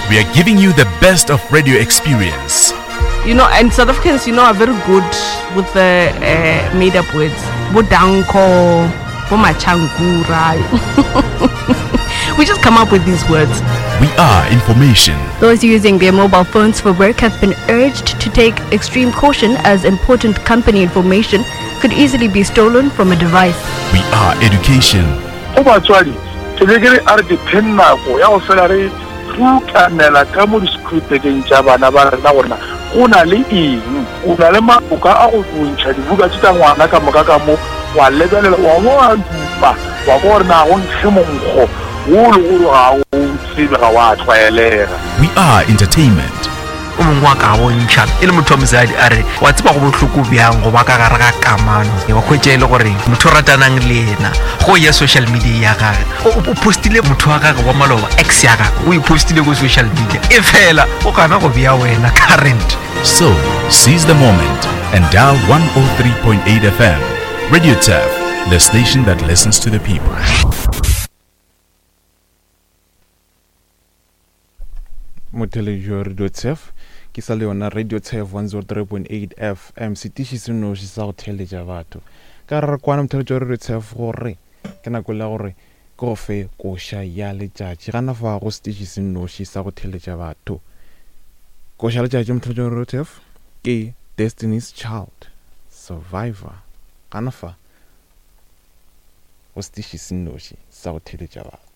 We are giving you the best of radio experience. You know, and South Africans, you know, are very good with the uh, made up words. Bodanko, Bomachankura. we just come up with these words. We are information. Those using their mobile phones for work have been urged to take extreme caution as important company information could easily be stolen from a device. We are education. Go batswadi, ke be ke re a re dipheng nako ya go fela re rukanela ka mo disekhurupekeng tša bana ba rena gore na go na le eng. O na le maoka a go ntšha dibuka tše tša ngwana ka moka ka mo, wa lebelela, wa bo wa dupa, wa kwa gore na go nkge monkgo wo o lego gore ga o tsebe, ga wa tlwaelega. We are entertainment. O mongwe wa ka bontšha e le motho wa mosadi a re, Wa tseba go bohloko bjang go ba ka gare ga kamano wa hwetša e le gore motho o ratanang le yena go ya social media ya gage o postile motho wa gage wa maloba ex ya gage o e postile ko social media e fela o gana go bea wena current. So, seize the moment and dial 103.8 FM. Radio Turf, the station that listens to the people. Motheletši wa Radio Turf ke sa le yona Radio Turf 103.8 FM setiši se noši sa go theeletša batho ka re re kwana motheletši wa Radio Turf gore ke nako la gore ke go fe koša ya letšatši gana fa go setiši se noši sa go theeletša batho koša ya letšatši motheletši wa Radio Turf ke Destiny's Child Survivor gana fa go setiši se noši sa go theeletša batho.